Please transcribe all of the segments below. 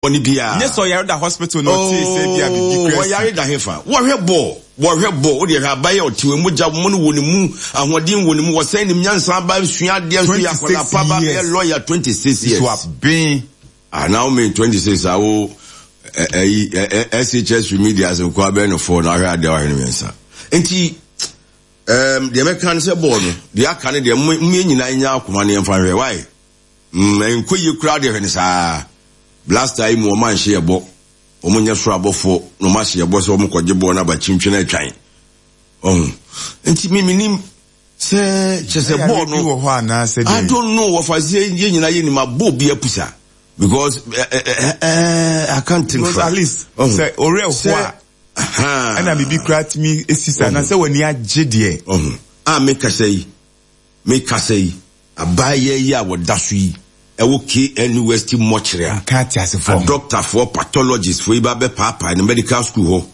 Bɔne biara. Nyɛ sɛ ɔyare da hospital na ɔtee sɛ ebia biribi Oh, kura asi. ɔyare da hefa? Wɔhwɛ bɔɔl, wɔhwɛ bɔɔl, wodeɛ hwɛ abayɛ ɔte hɔ, mogya mono wɔ ne mu, ahoɔden wɔ ne mu, wɔsɛn nim nyansa aba, sua adeɛ nso yɛ akwadaa 26 pa ba bɛyɛ years. lawyer, 26 years. So aben. Ah, na wo me 26 a wo ɛyi SHS remedials nkoa bɛyɛ no four na ahwɛ adeɛ a wahwɛ no mmiɛnsa. Nti um, deɛ mɛka ne sɛ bɔɔl no, deɛ aka ne deɛ mo yɛn nyinaa nya akoma ne yɛmfa nhwɛ, why? Mm, ɛnkɔ yie koraa deɛ hwɛ no saa. Blaster yi mu wɔn anhyɛ yɛ bɔ. Wɔn nyɛ soro abɔfoɔ na wɔn ahyɛ yɛ bɔ sɛ wɔn kɔgye bɔɔl no aba kyintwi na atwan. Ɔho. Nti mi mi nim sɛ kyɛ sɛ bɔɔl no. Wɔ hɔ anaasɛ deɛ. I don't know wɔfa sɛ yɛn nyinaa yɛ nim abɔ obi apusa because eh, eh, eh, eh, I can't think. Because at least sɛ ɔrɛ hɔ a. Ɛna biribi koraa tumi esi saa na sɛ w'ani agye deɛ. Ɔho. A mi kasa yi. Mekasa yi, abaayewa yi a wɔda so yi wɔ KNUST mɔkyere a, Nka ateasefoɔ ho. adɔktafoɔ, pathologistfoɔ yi ba bɛpaapae no medical school hɔ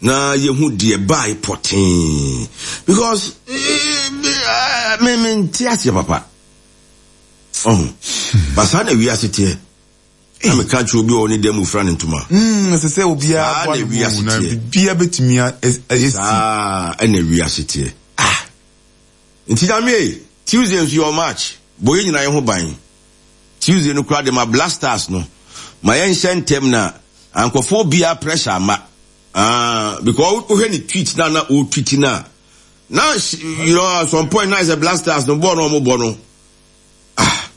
na yɛhu deɛ ɛbae pɔtee. Because me me nte aseɛ papa. Ɔho. Ba saa na wiase teɛ. Na meka kyerɛ obi a ɔwɔ ne dan mu fira ne ntoma. Mm, ɛsɛ sɛ obiara Saa boa na ne ho wiase na teɛ. biribiara bɛtumi asi. Saa na wiase teɛ. Ah! Nti Nyame ei, Tuesday nso yɛwɔ match, bɔ yɛn nyinaa yɛn ho ban. Tuesday no koraa de ma Black Stars no, ma yɛnhyɛ ntɛm na ankɔfa obiara pressure amma. Ah, because wohwɛ ne tweet na na ɔretweet no a, na you know, at some point na ayɛ sɛ Black Stars no bɔɔl na wɔbɔ no, ah.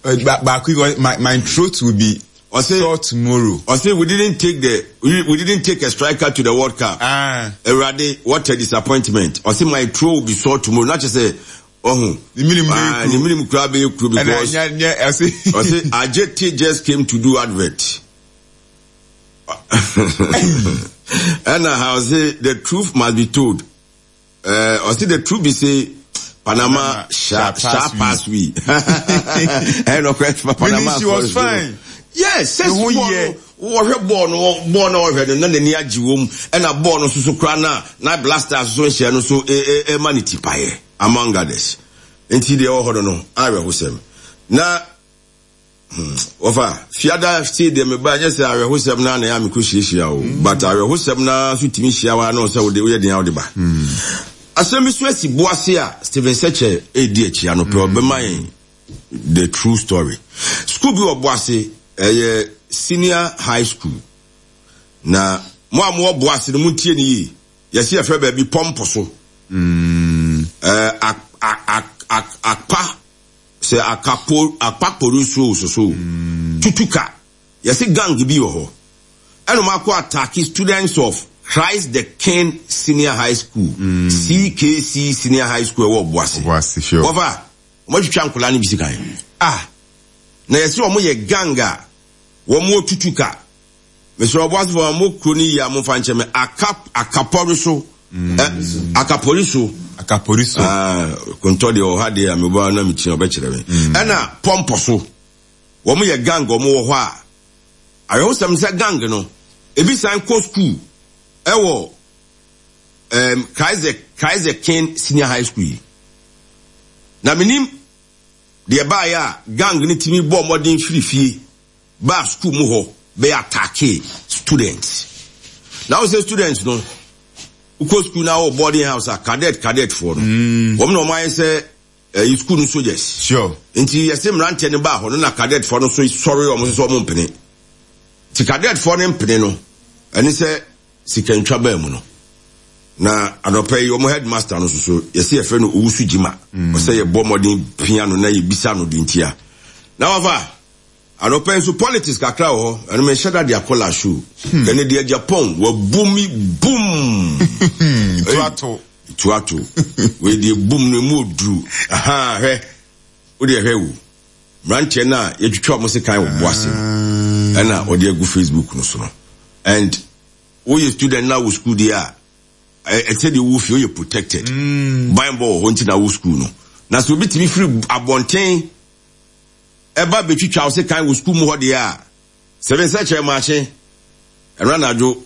Baako yi, my throat will be Ɔse, sore tomorrow. Ɔse we didn't take the we didn't take a striker to the World Cup. Ah. Awurade, what a disappointment. Ɔse my throat will be sore tomorrow. Na kyerɛ sɛ ɔho. Ne minim bɛyɛ kuro. Ne minim kura bɛyɛ kuro because. Ɛna nya nya ɔse. Ɔse Ajete just came to do advert. Ɛna ha ɔse the truth must be told. Eh, ɔsi the truth be say Panama sha sha pass we. Ɛyɛ nɔkorɛ Panama. She was fine. Yes, sɛ bɔɔl no wɔhwɛ bɔɔl no bɔɔl no wɔhwɛ no na n'ani agye wɔm ɛna bɔɔl no soso koraa na na blasters so nhyɛ no so ɛma ne ti paeɛ among others. Nti deɛ ɛwɔ hɔ no no awerɛhosɛm na Hmm, wɔfa fiada sei deɛ meba nyɛ sɛ awerɛhosɛm no na ɛyɛ a mekɔ hyiahyia o mm. but awerɛhosɛm no nso tumi hyia wa na sɛ wode woyɛ den a wode ba mm. asɛm bi so asi boase a Stephen Sekyɛ ɛredi akyi anɔpɛ mm. ɔbɛma yɛn the true story school bi wɔ boase ɛyɛ senior high school na mo a mowɔ boase no montie no yie yɛsi yɛfrɛ baabi pɔmpo so mm. eh, akpa Sɛ akapo akpakpori nso o soso o tutuka yɛse gang bi wɔ hɔ ɛna ɔmo akɔ atake students of Christ the King Senior High School CKC Senior High School ɛwɔ Ɔboase wɔfa ɔmo atwitwa nkɔlaa no bi sekan ah na yɛse ɔmo yɛ gang a wɔn wɔ tutuka. Mesrɛ ɔboasefo a mo kuro no yie a momfa nkyɛ me. Aka akapɔre so. Mm. Akapɔre so. Akapɔre so. Ah, kontɔ deɛ ɔha deɛ a mebɔ na mekyia ɔbɛkyerɛ me. Mm. Ɛna pɔmpɔ so. Wɔn yɛ gang wɔn wɔ hɔ a. Awerɛhosɛm sɛ gang no, ebi san kɔ school ɛwɔ um, Christ the, Christ the King Senior High School yi. Na menim deɛ baayɛ a gang no tumi bɔɔ mmɔden firi fie baa school mu hɔ bɛ attackee students. Na wo sɛ students no, wokɔ school na wɔ boarding house a cadet cadet foɔ no, mm. wɔn na wɔn ayɛ sɛ ɛyi eh, school no soldiers. Sure. Nti yɛsɛ mmeranteɛ no baa hɔ no na cadet foɔ no so sɔre wɔn so sɛ wɔn mpene. Ti cadet foɔ no mpene no, ɛne sɛ sikantwa baa mu no. Na anɔpa yi wɔn headmaster no soso yɛsɛ yɛfrɛ no Owusu Gyima. Mm. Ɔsɛ yɛbɔ mmɔden pia no na yɛbisa no de ntia. Na wafa Anɔpa yi nso politics kakra wɔ hɔ, ɛno menhyɛ da de akɔ la show. Hmm. Ɛne deɛ Japan wabu mi boom. Tuato. Tuato. Wei deɛ boom no emu oduru. Aha hwɛ. Wo deɛ hwɛ wo. Mmeranteɛ no a yɛtwitwa wɔn sekan wɔ boase no. Ɛna ɔde agu Facebook no so no. And woyɛ student na wo school deɛ a ɛsɛ deɛ wowɔ fie woyɛ protected. Mm. Banbɔ wɔ hɔ nti na wo school no. Na sɛ obi tumi firi abɔnten ɛba bɛtwitwa wo sekan wɔ sukuu mu hɔ deɛ a, sɛ me nsa kyerɛ maakye, ɛno anadwo,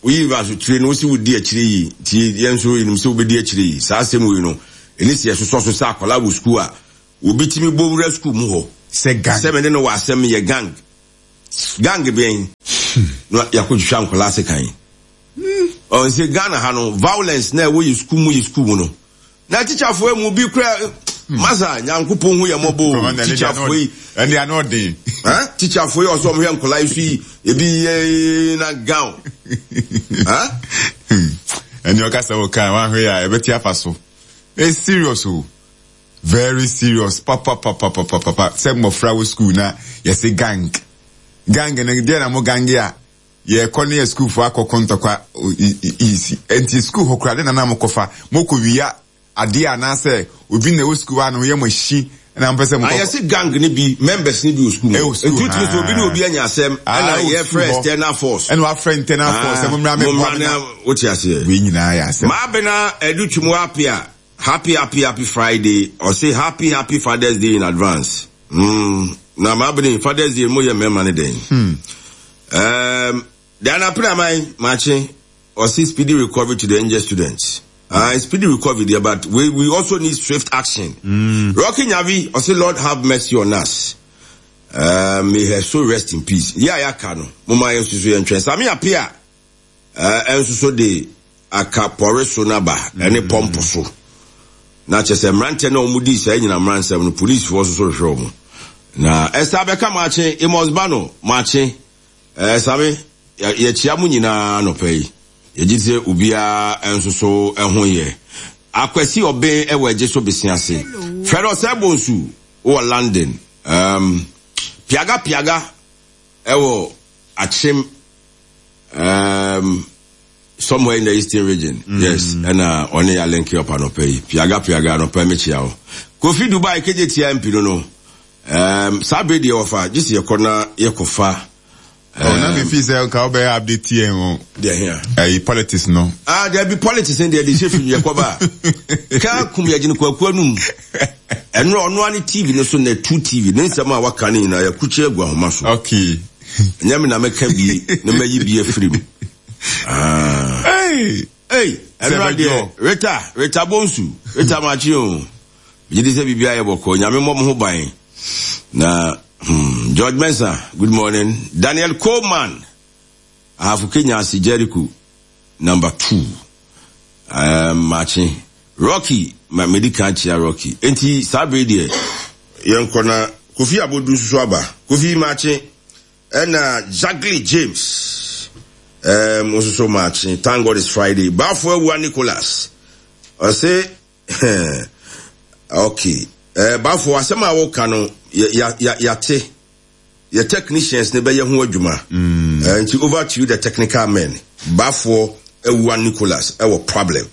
woyi asotire no, wosi wodi akyire yi, nti yɛn nso yɛnim sɛ wobɛdi akyire yi. Saa asɛm wei no, ɛni sɛ yɛsosɔ so sɛ akwadaa wɔ sukuu a, obi tumi bɔ wura sukuu mu hɔ sɛ gang, sɛ me ne no wɔ asɛm, yɛ gang. Gang bɛn na yɛakɔtwitwa nkwadaa sekan? Ɔn sɛ Ghana ha no, violence na ɛwɔ yɛ sukuu mu yɛ sukuu mu no. Na tikyafoɔ mu bi kura masa Nyankopɔn hu yɛ mmɔbɔ o. Tikyafoɔ yi. Ɛnde ano ɔden. Tikyafoɔ yi ɔsɛ ɔmo hwɛ nkwadaa yi so yi ebi yɛ na gown. Ɛnde ɔka sɛ ɔka wahwɛ yɛ a ɛbɛte afa so. It's serious o. Very serious papapapapapa sɛ mmɔfra wɔ school na yɛse gang. Gang no deɛ na mo gange a yɛkɔ ne yɛ sukuufoɔ akɔko ntɔkwa isi nti sukuu hɔ koraa de na na mokɔfa mokɔ wia adeɛ anaasɛ obi na ɛwɔ sukuu hɔ a na ɔyɛ mo ahyi na mopɛ sɛ mokɔ. Ayɛse gang no bi members no bi wɔ sukuu mu nti wotumi sɛ obi ne obi anya asɛm ɛna yɛfrɛ external force ɛna wafrɛ internal force sɛ mommra mɛboa me na wote aseɛ wei nyinaa yɛ asɛm. Maabena Adu Twum Apia Happy happy happy Friday ɔse happy happy father's day in advance mm na maabene father's day mo yɛ mmarima ne dɛn hmm. um, Diana Pinaman makye ɔse speedy recovery to the injured students speedy recovery there but we, we also need swift action mm. Rocky Nyavi ɔse Lord have mercy on us may her soul rest in peace yɛ a yɛaka no moma yɛn nso so yɛntwɛn Sami Apia Nso so de aka pɔre so no aba ne pɔmpo so. Na kyerɛ sɛ mmeranteɛ no a wɔdii saa anyinam mmaransɛm no, polisifoɔ nso so rehwehwɛ wɔn. Na Esther abɛka maakye, Amos Bano maakye, ɛɛ Same, yɛkyia mo nyinaa anɔpa yi. Yɛgye di sɛ obiara nso so ho yɛ. Akwasi Ɔben wɔ Agye so Bese ase. Fred Osei Bonsu wɔ London. Um, Piaga Piaga wɔ Akyem Um, somewhere in the eastern region. Mm. Yes, ɛna ɔne yɛ link up anɔpa yi. Piaga piaga anɔpa mi kyia wo. Kofi Dubai keje tia MP no no. Um, saa bere deɛ wɔfa gye sɛ yɛkɔ na yɛkɔfa. Oh, na me fi sɛ nka wobɛyɛ update yɛn o. Deɛ hia. Ɛyi politics no. Ah, deɛ bi politics no deɛ de hyɛ fi yɛkɔ ba. Kaa kum yɛgyene kwakuo anum. Ɛno ɔno ani TV no so na tu TV ne nsɛm a waka ne nyinaa yɛkukyɛ agu ahoma so. Okay. Ɛnyɛ me na mɛka bi na mayi bi afiri mu. Ah. Hey! Hey! Ɛnora deɛ, Rita, Rita Bonsu, Rita Makye o. Megye di sɛ biribi ayɛ bɔkɔ. Nyame mmɔ mo ho ban. Na, hmm, George Mensah, good morning. Daniel Coleman, Ahafo Kenya ase Jericho, number 2. Um, Makye. Rocky, ma medi kan kyia Rocky. Enti saa bere deɛ, yɛnkɔ na Kofi Abodu nso so aba. Kofi Makye, ɛna Jagli James, um, nso so Makye. Thank God it's Friday. Bafo Awua Nicholas, ɔse, okay. Eh, Bafo, asɛm a woka no, yɛate. Yɛ technicians no bɛyɛ ho adwuma. Mm. Eh, nti over to you the technical men. Bafoɔ Awua Nicholas ɛwɔ problem.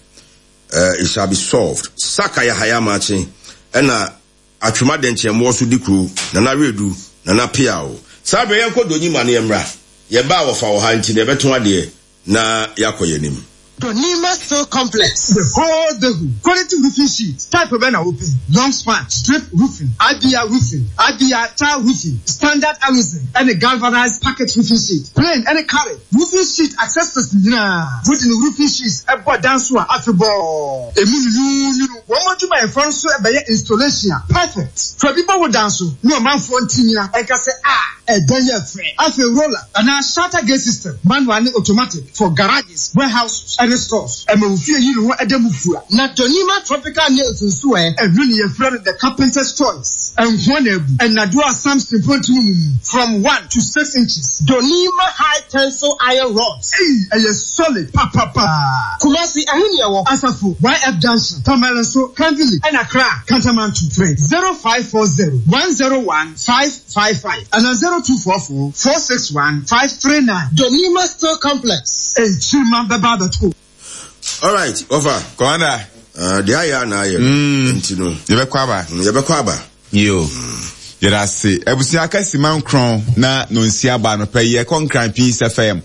Uh, it shall be solved. Saka Yahaya Makye ɛna Atwema Dɛnkyɛmmoɔ so di kuro Nana Wedu Nana Piaw. Saa berɛ yɛnkɔ Donyima no yɛmmra. Yɛba a wɔfa wɔ ha nti na yɛbɛto adeɛ na yɛakɔ yɛn anim. Donima Steel Complex. The whole Dehu. Quality roofing sheet. Type bɛn na wopɛ? Long span, strip roofing, IBR roofing, IBR tile roofing, standard aluzinc ɛne galvanized packet roofing sheet, plain ɛne carried roofing sheet accessories nyinaa. Wode ne roofing sheets bɔ dan so a, afebɔɔ emu nwunwuunwunu. Wɔn adwumayɛfoɔ nso bɛyɛ installation a perfect. Fa bi bɔ wo dan so na ɔmanfoɔ nte nyina nka sɛ ah ɛdan yi yɛ fɛ. Afei roller anaa shutter gate system, manual ne automatic for garages, warehouses ne stores. Ɛma wo fie yi ne ho da mu fua. Na Donima tropical nails nso ɛ? Ɛno ne yɛfrɛ no the carpenter's choice. Nkoa na abu. Nnadewa a Samson mpontini mu mu from one to six inches. Donima high tensile iron rods. Ei ɛyɛ solid papapa. Kumasi, ɛhe ne ɛwɔ? Asafo, YF Junction, Tamale nso, Kan Village, ɛna Accra, Kantamanto. Frɛ 0540 101 555 anaa 0244 461 539. Donima Steel Complex. Nkyirimma bɛba abɛto. Alright, wɔfa. Commander. Deɛ ayɛ a na ayɛ no. Nti no. Yɛbɛkɔ aba. Yɛbɛkɔ aba. Yo. Yɛda ase. Abusua aka sima nkron na nonsia ba anɔpa yi yɛkɔ Nkran Peace FM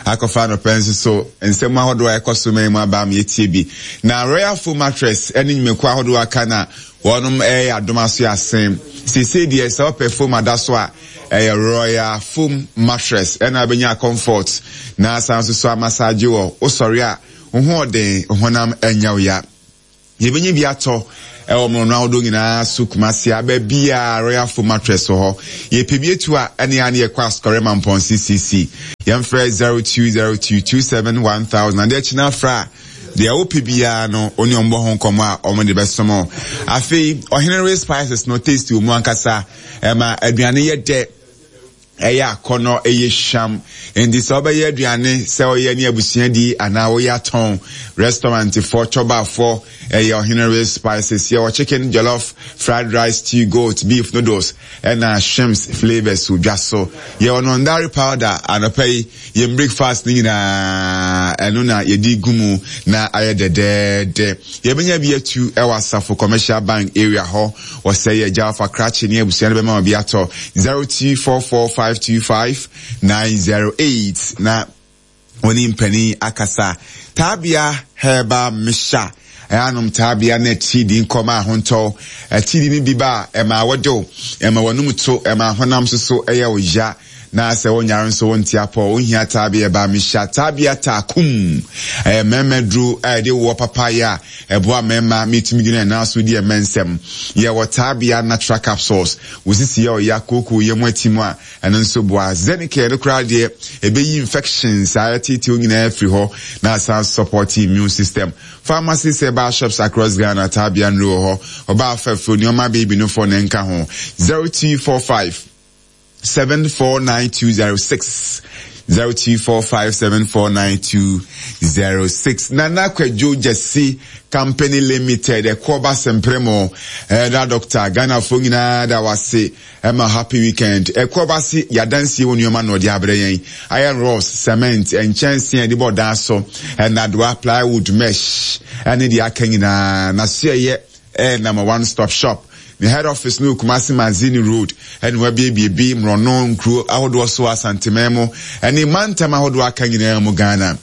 akɔfa anɔpa nso so nsɛm ahodoɔ a ɛkɔ so man mu aba ama yɛtie bi. Na Royal Foam Mattress ne nnwumakuo ahodoɔ aka na wɔnom ɛyɛ adom aso asen. Seesei deɛ sɛ wopɛ foam ada so a ɛyɛ Royal Foam Mattress ɛna wobɛnya comfort na asan nso so amassage wɔ wosɔre a wo ho ɔden honam ɛnyɛ wo ya. Yɛbɛnya bi atɔ. Ɛwɔ mmorɔno ahodoɔ nyinaa so Kumasi a baabiara Royal Foam Mattress wɔ hɔ. Yɛpɛ bi atu a ɛne a ne yɛkɔ Asukɔre Mampɔnse CC. Yɛmfrɛ 0202 27 1000 adeɛ kye no afrɛ a deɛ wopɛ biara no wo ne wɔn bɔ ho nkɔmmɔ a wɔn de bɛsom wo. Afei Ɔhene Ray Spices no taste wɔ mu ankasa ɛma aduane yɛ dɛ. Ɛyɛ akɔnnɔ, ɛyɛ hwam. Enti sɛ wobɛyɛ aduane, sɛ woyɛ ne abusua di anaa woyɛ atɔn, restaurantfoɔ, chɔbafoɔ, ɛyɛ Ɔhene Rich Spices. Yɛwɔ chicken, jollof, fried rice, stew, goat, beef, noodles, ɛna shrimps flavours wɔ dwa so. Yɛwɔ nondari powder anɔpa yi, yɛn breakfast no nyinaa ɛno na yɛde gu mu na ayɛ dɛdɛɛdɛ. Yɛbɛnya bi atu ɛwɔ Asafo Commercial Bank area hɔ. Wɔsɛe yɛ gya fa krakye ne abusua no bɛma obi atɔ 0244525908 na wɔne mpanin akasa. Taabea Herbal Mixture ɛanom taabea na atiridii nkɔma ahontɔw. Atiridii no bi ba a ɛma wɔdew, ɛma w'anum to, ɛma honam nso so ɛyɛ wo ya. Na sɛ wonyare nso wonte apɔ, wonhia taabea ba mehyia taabea taakum. Ɛyɛ mmarima duro a yɛde woɔ papayɛ a ɛboa mmarima ma etumi gyina nan so di ɛmɛ nsɛm. Yɛwɔ taabea natural capsules, wo sisi yɛ ɔya, kooko yɛ mu ati mu a, ɛno nso boa. Zenicare no koraa deɛ, ɛbɛyi infections a ɛtetew nyinaa afiri hɔ na asan support immune system. Pharmacies, herbal shops across Ghana, taabea nnuro wɔ hɔ. Ɔbaa fɛfo, nneɛma baby no fɔ ne nka ho. 0245 749206 0245749206 Nana Kwadwo Gyasi Company Limited Ɛkoɔba Sempremo Ɛda Doctor Ghanafoɔ nyinaa da wase ɛma happy weekend Ɛkoɔba se yadansie wɔ nneɛma na ɔde abrɛ yɛn Iron rods, cement, nkyɛnsee a yɛde bɔ dan so, nnadewa, plywood, mesh ɛne deɛ aka nyinaa na so ɛyɛ Ɛyɛ number one stop shop. Ne head office no wɔ Kumasi Mazini Road ɛna wabiebie bi mmorɔno nkuro ahodoɔ so Asanteman mu ɛne mantam ahodoɔ aka nyinaa mu Ghana.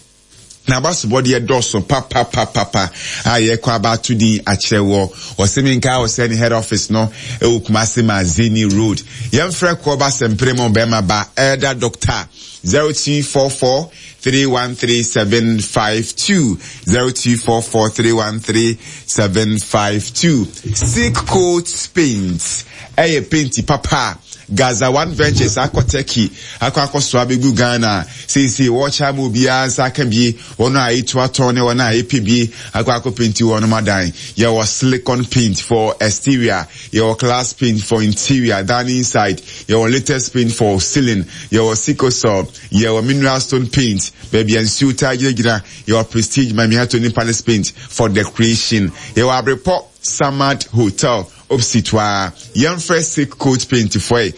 N'abasobɔdeɛ dɔɔso papapapapa a yɛkɔ aba ato din akyerɛ wɔ. Ɔse menkae wo sɛ ne head office no ɛwɔ Kumasi Mazini Road. Yɛmfrɛ Koɔba Sɛmpere mu bɛrima ba Elder Doctor 0244 313752 0244 313752 Silk Coat Paint ɛyɛ paint papa a Gaza One Ventures akɔ Turkey akɔ akɔsoa abɛgu Ghana seesei wɔkyɛ ama obiara nsa aka bie wɔn a ɛtu atɔn ne wɔn a ɛpɛ bie akɔ akɔ painti wɔn adan. Yɛwɔ silicon paint for exterior, yɛwɔ glass paint for interior dan inside, yɛwɔ latest paint for ceiling, yɛwɔ sikosol Yɛwɔ mineral stone paint, baabi a nsuo taa gyinagyina. Yɛwɔ Prestige Mamiato ne Palace paint for decoration. Yɛwɔ Abrepɔ Samad Hotel opposite hɔ ara. Yɛmfrɛ Silk Coat Paint foɔ ɛ,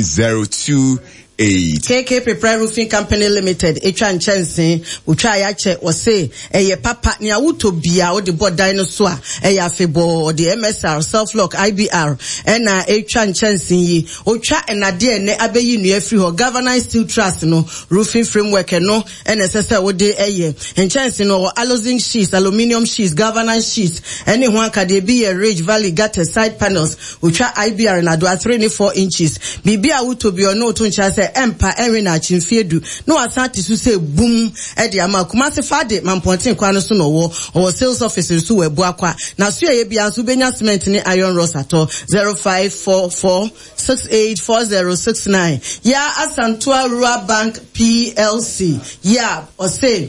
0200309028. KK Prepare Roofing Company Limited etwa nkyɛnsee, otwa a yɛakyɛ, wɔse ɛyɛ papa, nea wotɔ biaa wode bɔ dan no so a ɛyɛ afebɔɔ, ɔde MSR, Self Lock, IBR ɛna etwa nkyɛnsee yi. Otwa nnade a ɛnnɛ abeyi nnua afiri hɔ, galvanized steel truss no, roofing framework, ɛno na ɛsɛ sɛ wode yɛ. Nkyɛnse no, ɔwɔ aluzinc sheets, aluminium sheets, galvanized sheets, ɛne ho akadeɛ. Ebi yɛ ridge, valley, gutters, side panels. Otwa IBR nnadewa three ne four inches. Biribi a wotɔ biara, ɔne wo to nkyea sɛ ɛmpa, ɛnwe naakye mfeɛ du, na wasan ate so sɛ bum de ama. Kumasi Fade, Mampɔnten kwan no so na ɔwɔ. Ɔwɔ sales office nso wɔ Abuakwa. N'asoɛeɛ biara nso wobɛnya cement ne iron rods atɔ. 0544 684069 Yaa Asantewaa Rural Bank PLC Yab ɔse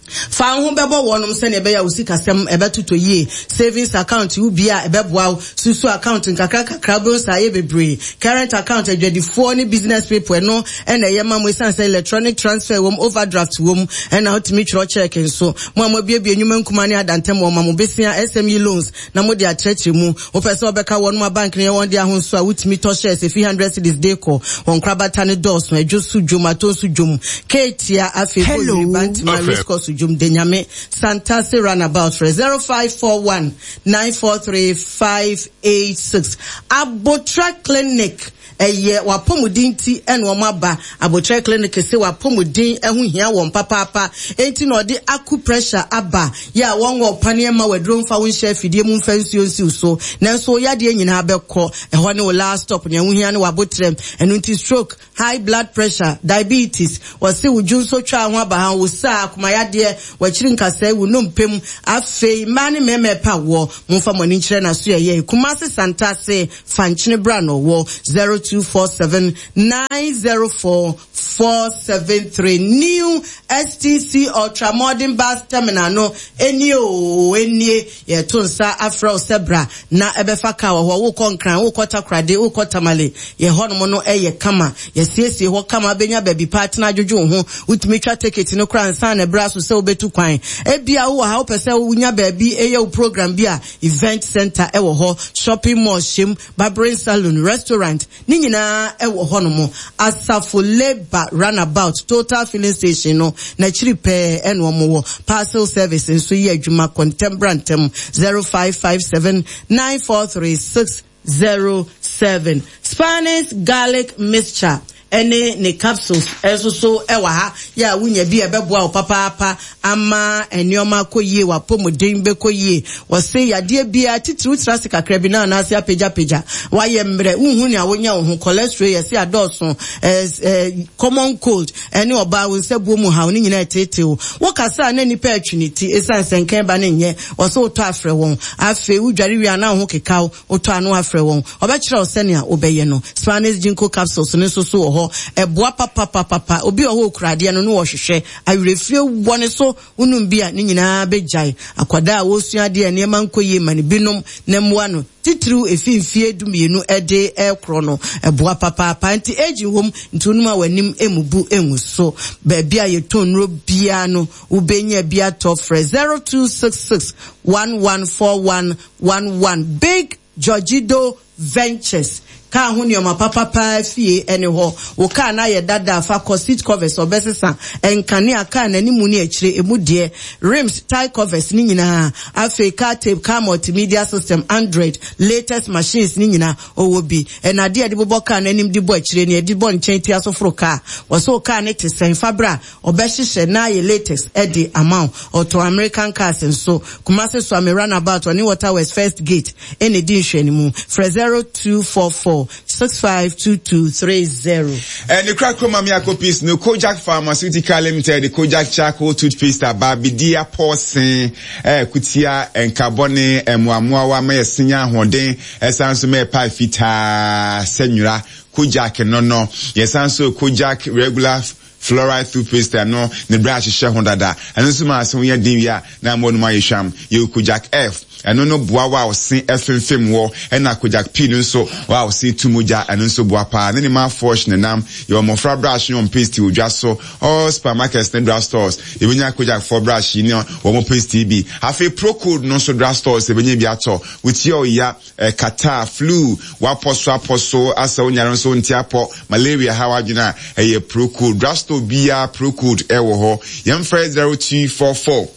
Fa wo ho bɛbɔ wɔnom sɛnea ɛbɛyɛ a wo sikasɛm ɛbɛtotɔ yie. Savings account wo bie a ɛbɛboa wo. Susu account nkakra nkakra wobɛhu sɛ ayɛ bebree. Current account adwadifoɔ ne business people ɛno na ɛyɛ ma mo esiane sɛ electronic transfer wom, overdraft wom ɛna wotumi twerɛ check nso. Mo a moabuebue nnwuma nkumaa ne adantam wɔma mo besia SME loans na mode akyerɛkyerɛ mu. Wopɛ sɛ wɔbɛka wɔnom a bank no yɛ wɔn dea ho nso a wotumi tɔ shares efi hundred cedis de kɔ. Wɔn nkorabata no dɔɔso, Adwo so dwom, Atɔ nso dwom, Keetia, afei Hello. Bɔyiri, Bantama, Race Course dwom, Denyame, Santase Runabout frɛ 0541 943 586. Abotra Clinic Ɛyɛ w'apɔmuden nti na wɔaba. Aboterɛ Clinic se w'apɔmuden ho hia wɔn papaapa, enti na wɔde acupressure aba. Yɛ a wɔnwɔ wo paneɛ mma w'aduro mfa wo nhyɛ afidie mu mfa nsuo nsi wo so, nanso wo yadeɛ nyinaa bɛkɔ. Ɛhɔ ne wo last stop, nea wohia ne w'aboterɛ. Ɛno nti stroke, high blood pressure, diabetes, wɔse wo dwonsɔ twaa ho aba ha, wo saa, akoma yadeɛ. yadeɛ, w'akyiri nkasɛe, wo nnompe mu. Afei mmaa ne mmarima ɛpɛ awoɔ, momfa mo ani nkyerɛ n'asoɛeɛ. Kumasi Santase, Fankyene bra na ɔwɔ 0247 904 473. New STC Ultra Modern Bus Terminal no nie oo, nie. Yɛreto nsa afrɛ wo sɛ bra na bɛfa kaa wɔ hɔ. Wokɔ Nkran, wokɔ Takoradi, wokɔ Tamale, yɛn hɔnom no yɛ kama. Yɛasiesie hɔ kama, wobɛnya baabi pa atena adwodwo wo ho. Wotumi twa tekiti no koraa ansa na ɛberɛ aso sɛ wobɛtu kwan. Ebia wowɔ ha wopɛ sɛ wonya baabi yɛ wo program bi a, event centre wɔ hɔ, shopping mall hyɛm, barbering salon, restaurant, Ne nyinaa wɔ hɔnom. Asafo Labour Runabout Total Filling Station no n'akyiri pɛɛ na wɔwɔ. Parcel service nso yɛ adwuma kɔ ntɛm bra ntɛm. 0557 943 607. Spanish garlic mixture ne ne capsules nso so wɔ ha yɛ a wonya bi a ɛbɛboa wo papaapa ama nneɛma akɔ yie, w'apɔmuden bɛkɔ yie. Wɔse yadeɛ biara, titiriw tra ase kakra bi na anaase apagyapagya, wayɛ mmerɛ, wonhu nea wonya wo ho, cholesterol yɛse adɔɔso, eh, eh, common cold, ɛne ɔbaa wo nsa buo mu haw ne nyinaa ɛteetee wo. Wokasa a na nnipa ɛtwe ne ti, ɛsiane sɛ nkan ba no nyɛ, wɔse wotɔ afrɛ wɔn. Afei wodware wie a na wo ho keka wo, wotɔ ano afrɛ wɔn. Wɔbɛkyerɛ wo sɛnea wobɛyɛ no. Spanish Ginkgo capsules no nso so wɔ hɔ. Ɛboa papapapapa. Obi wɔ hɔ a okura adeɛ no na ɔhwehwɛ. Awerɛfie wɔ ne so. Wonom bi a, ne nyinaa bɛgyae. Akwadaa a ɔresua adeɛ a nneɛma nkɔ yie ma no bi nom na mmoa no, titiriw ɛfi mfeɛ dumienu de rekorɔ no. Ɛboa papaapa. Nti aging wɔ mu, nti wonom a w'anim mmubu ngu so. Baabi a yɛtɔn nnuro biara no, wobɛnya bi atɔ. Frɛ 0266 1141 11 Big Georgido Ventures kaa ho nneɛma papa paa fie ne hɔ. Wo kaa no ayɛ dada a, fa kɔ seat covers ɔbɛsesa, nkanea, kaa no animu ne akyire, emu deɛ, rims, tyre covers ne nyinaa. Afei car tape, car multimedia system, android, latest machines ne nyinaa ɔwɔ bi. Ɛna adeɛ a yɛde bobɔ kaa no anim de bɔ akyire ne yɛde bɔ nkyɛn tia so foro kaa. Wɔse wo kaa no te sɛn? Fa bra. Ɔbɛhyehyɛ na ayɛ latex de ama wo. Ɔtɔn American cars nso. Kumasi Suame Runabout ɔne Water Works First Gate na ɛdi nhwɛanimu. Frɛ 0244 652230. Ɛne korakora ma me akɔ peace no Kojak Pharmaceutical Limited Kojak Charcoal Toothpaste aba bedi apɔɔsen ɛɛ kutia nkabɔne mmoamoawa ma yɛse nya ahoɔden ɛsan nso ma ɛpae fitaa sɛ nwera Kojak no no yɛsan nso Kojak regular Fluoride toothpaste ɛno ne bere ahyehyɛ ho dada. Ɛno nso ma ase ho yɛ den wie a na ama w'anum ayɛ hwam. Yɛwɔ Kojak F, ɛno no boa wo a wo se ɛfemfem wɔ, ɛna Kojak P no nso wo a wo se tu mogya, ɛno nso boa paa. Ne ne mouthwash nenam. Yɛwɔ mmɔfra brush ne wɔn paste wɔ dwa so. All supermarkets ne drug stores yɛbɛnya Kojak foɔ brush yi ne wɔn paste yi bi. Afei Procold no nso drug stores yɛbɛnya bi atɔ. Wo ti ɔya. Catarrh, flu, w'apɔ so apɔ so, asɛ wo nyare nso wonte apɔ, malaria ha w'adwene a, ɛyɛ Procold. Drugstore biara Procold ɛwɔ hɔ. Yɛmfrɛ 0244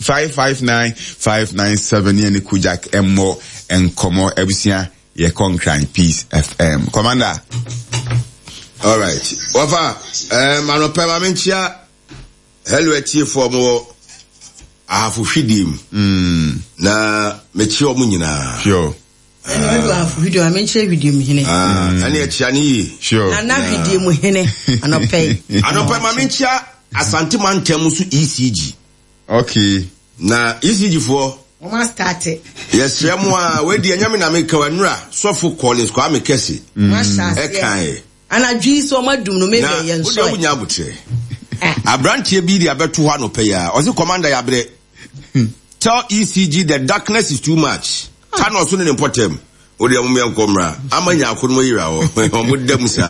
559 597 ne yɛne Kojak mmɔ nkɔmmɔ. Abusua, yɛkɔ Nkran Peace FM. Commander. Alright. Wɔfa, eh, manɔpɛ ma menkyia Hello atiefoɔ mo wɔ ahafo hwidie mu. Mm. Na mekyia ɔmo nyinaa. Sure. Ɛna ɔdu ahafo hwidie mu, menkyerɛ hwidie mu hene. Ah, mm. Ɛne akyia ne yie. Sure. Nana hwidie mu hene anɔpɛ yi. Anɔpɛ ma menkyia Asante mantam so ECG. Okay. Na ECG foɔ. Wɔn astate. Yɛsrɛ mo a, wei deɛ ɛnyɛ me na meka wa nura sɔfo Collins Kwame Kɛse. Mm. Ɛkaeɛ. Anadwo yi sɛ ɔmo adum no me bɛ yɛ nsɔe. Na wo deɛ wonya abotrɛ. Abranteɛ bi de abɛto hɔ anɔpa yi ara. Ɔse commander yabrɛ. Tell ECG the darkness is too much. Thanos ne ne mpɔtam. Wo deɛ mom yɛnkɔ mmra. Ama nyaako no mo yera hɔ. Ɔmo da mu saa.